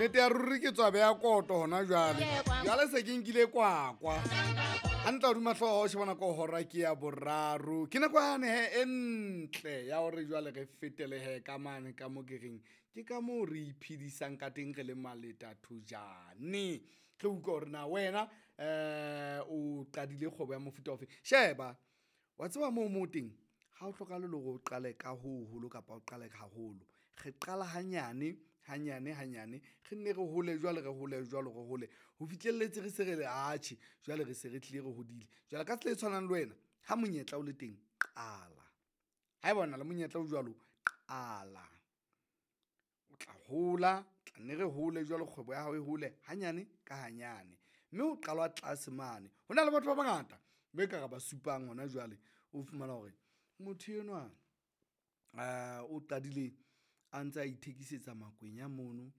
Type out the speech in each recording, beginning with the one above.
Nnete ya ruri ke tswa beya koto hona jwale. Jwale se ke nkile kwakwa. Hantle hodima hlooho o shebana ko hora ke ya boraro. Ke nako yane he e ntle ya hore jwale re fetele he ka mane ka mo ke reng ke ka moo re iphedisang ka teng re le maleta thojane. Re utlwa hore na wena o qadile kgwebo ya mofuta ofe. Sheba wa tseba moo mo teng ha o hlokahale le hore o qale ka ho hoholo kapa o qale haholo. Re qala hanyane hanyane hanyane, re nne re hole jwale, re hole jwalo, re hole ho fihlelletse re se re le atjhe jwale re se re tlile re hodile. Jwale ka tsela e tshwanang le wena ha monyetla o le teng, qala. Haeba o na le monyetla o jwalo, qala o tla hola, tla nne re hole jwalo kgwebo ya hao e hole hanyane ka hanyane, mme ho qalwa tlase mane. Ho na le batho ba bangata be ka re ba supang hona jwale, o fumana hore motho enwa o qadile a ntse a ithekisetsa makwenya mono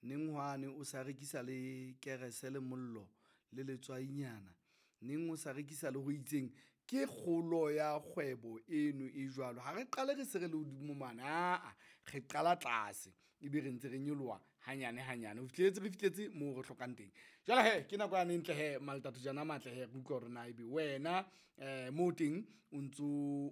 neng hwane o sa rekisa le kerese le mollo le letswainyana, neng o sa rekisa le ho itseng. Ke kgolo ya kgwebo eno e jwalo. Ha re qale re se re le hodimo mane, aa re qala tlase ebe re ntse re nyoloha hanyane hanyane ho fihlelletse re fihletse moo re hlokang teng. Jwale hee ke nako yane e ntle hee Maletathojana a matle hee, re utlwa hore na ebe wena moo teng o ntso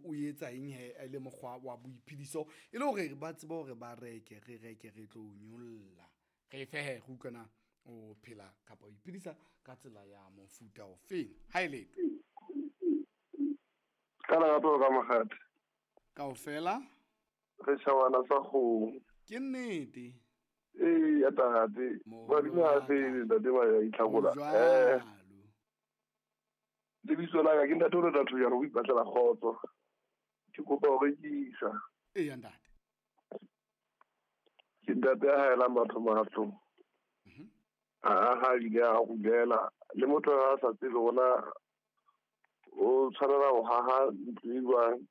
o etsa eng hee e le mokgwa wa boiphediso e le hore ba tsebe hore ba reke, re reke re tlo nyolla. Re fe hee re utlwe na o phela kapa o iphedisa ka tsela ya mofuta ofeng. Ha e letho. Ka lerato ka mokgadi. Kaofela? Re tjhabana sa kgomo. Ke nnete. Ee, ya tate. Badimo ha se ntate ba ya itlhakola. Jwalo. Lebitso la ka ke ntate o le Thojane o ipatlela kgotso. Ke kopa ho rekisa. Eya ntate. Ke ntate ya haelang batho matlo. A aha ebile a rulela le motho a sa tsebe hore o tshwanela ho haha ntlo e jwang.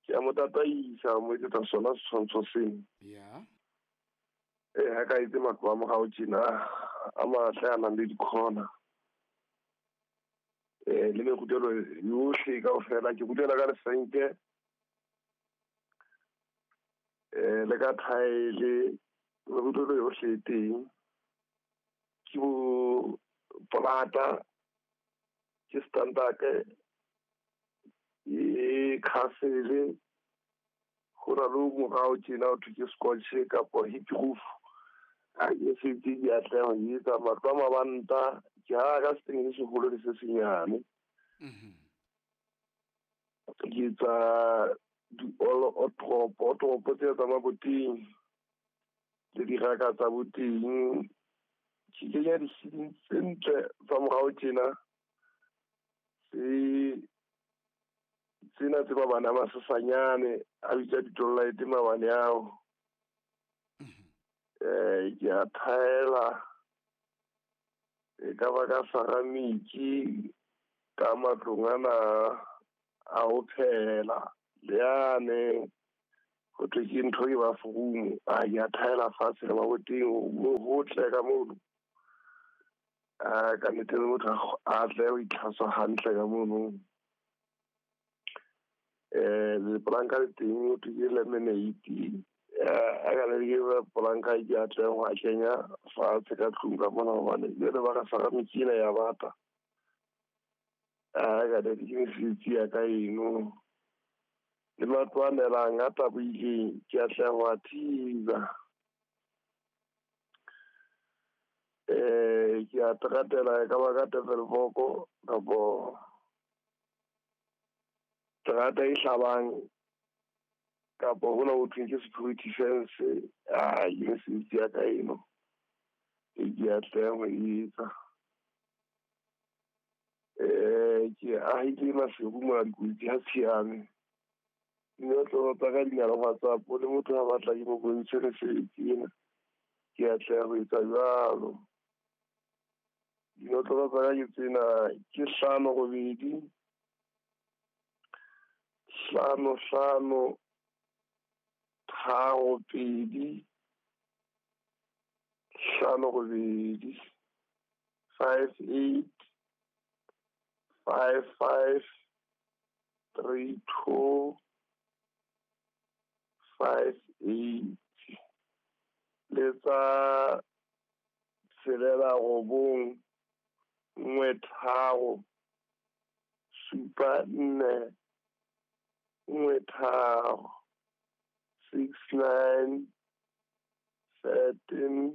Ke a mo tataisa, mo etsetsa sona setshwantsho seno. Ya. Ee, ha ka etse matlo a morao tjena a matle a nang le dikhona. Le merutelo yohle kaofela, ke rutela ka lesenke, le ka thaele, merutelo yohle e teng. Ke bo polata, ke standard, ke castle, ho na le o morao tjena ho thwe ke scotch kapa hip roof. Ha ke se ke di atleha ho etsa matlo a mabanta, ke haha ka setene se seholo le se senyane. Ke etsa di-all-otropo tse tsa maboteng le diraka tsa boteng. Ke kenya di-ceiling tse ntle tsa morao tjena, tsena tse mabane a masesanyane a bitsa di-light mabane ao. Ke a thaela e ka ba ka ceramic ka matlong ana a ho phehela le yane ho thwe ke ntho e bathroom, a ke a thaela fatshe le maboteng mo hotle ka mono. Ka nnete le motho a tle ho itlhatswa hantle ka mono. Lepolanka le teng ho thwe ke laminate. A ka le ke polanka ke a tle ho a kenya fatshe ka tlung ka mona hobane jwale ba re ceramic ena ya bata. A ka le ke mesebetsi ya ka eno. Le matlo a nelang a tabohileng ke a tle ho a thiba. Ke a teratela e ka ba ka Tafelkop kapo terata e hlabang kapo hona ho thweng ke security fence. Ke mesebetsi ya ka eno e ke atlehang ho e etsa. Ke ahile Maseru mona dikotsi ha tshiame. Dinotlolo tsa ka di na le WhatsApp, le motho ha batla ke mo bontshe mesebetsi ena, ke atleha ho etsa jwalo. Dinotlolo tsa ka ke tsena, ke 5 8 5 5 3 2 5 8 5 8 5 5 3 2 5 8. Le tsa Tshelela 9 1 3 7 4 1 3 6 9 13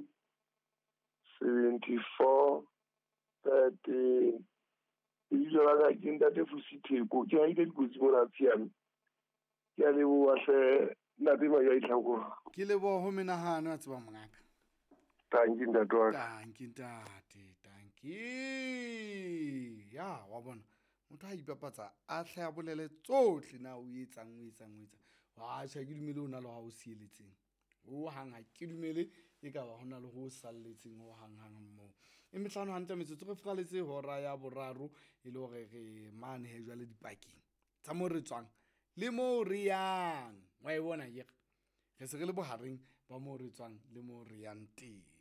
74 13. Lebitso la ka ke ntate Fusi Theko, ke haile dikotsi mona Tshiame. Ke a leboha hle ntate Maja Itlhakore. Ke leboha ho menahano a tseba mongaka. Tanki ntate wa ka. Tanki ntate, tanki. Ya wa bona. Motho ha ipapatsa a hle a bolele tsohle na o etsang o etsang o etsang. Wa tjhe ke dumele o na le ha o sieletseng. Ho hang ha ke dumele e ka ba hona le ho salletseng ho hang hang moo. E mehlano hantle metsotso re furaletse hora ya boraro e le hore re mane he jwale dipakeng tsa mo re tswang le mo re yang. Wa e bona akere? Re se re le bohareng ba mo re tswang le mo re yang teng.